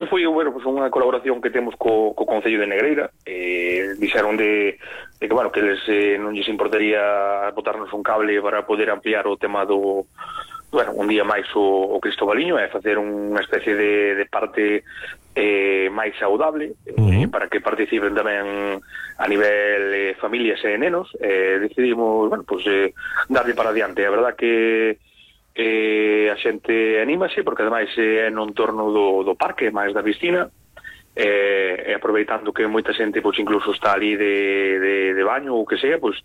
foi, bueno, pues unha colaboración que temos co Concello de Negreira. Dixeron de que, bueno, que eles non lles importaría botarnos un cable para poder ampliar o tema do, bueno, un día máis o Cristobaliño, e facer unha especie de parte máis saudable, para que participen tamén a nivel familias e nenos. Decidimos, bueno, pues darle para adiante. A verdad que a xente anímase, porque ademais é no entorno do parque, máis da piscina, e aproveitando que moita xente, pois, incluso está ali de baño ou que sea, pois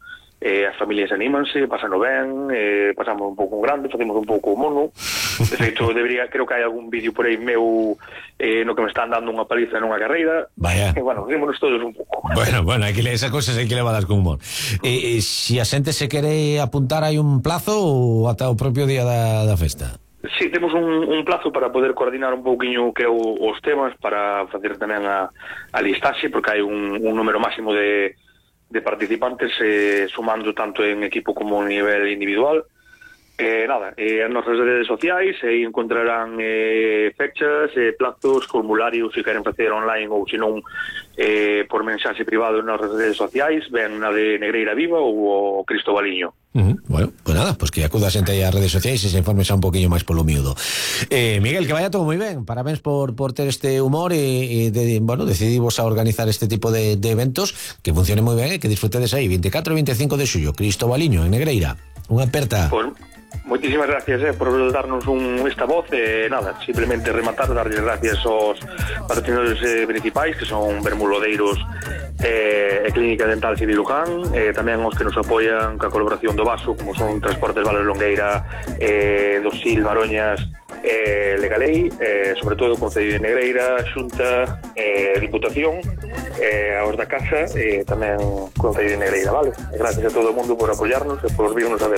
as familias anímanse, pasano ben, pasamos un pouco grande, facemos un pouco mono. De feito, creo que hai algún vídeo por aí meu no que me están dando unha paliza nunha carreira. Vaya. Bueno, rímonos todos un pouco. Bueno, esas cosas hai que levadas con humor. Si a xente se quere apuntar, hai un plazo ou ata o propio día da festa? Sí, temos un plazo para poder coordinar un pouquiño que os temas, para facer tamén a listaxe, porque hai un número máximo de participantes, sumando tanto en equipo como en nivel individual. Nada, as nosas redes sociais encontrarán fechas, plazos, formularios, se queren facer online ou se non por mensaxe privado nas redes sociais, ven na de Negreira Viva ou o Cristobaliño. Bueno, pues nada, pues que acuda a xente aí ás redes sociais e se informe xa un poquinho máis polo miúdo. Miguel, que vaya todo moi ben, parabéns por ter este humor e bueno, decidimos a organizar este tipo de eventos, que funcione moi ben e que disfrutedes aí 24 e 25 de xullo, Cristobaliño en Negreira. Unha aperta. Pues, moitísimas gracias por darnos esta voz. Nada, simplemente rematar, darles gracias aos patrocinadores principais, que son Bermulodeiros e Clínica Dental Civiluján, tamén os que nos apoian ca colaboración do Vaso, como son Transportes Vales Longueira, Dosil, Maroñas, Legalei, sobre todo o Concello de Negreira, Xunta, Diputación, aos da Casa, tamén Concello de Negreira, vale? Gracias a todo o mundo por apoiarnos e por virnos a ver.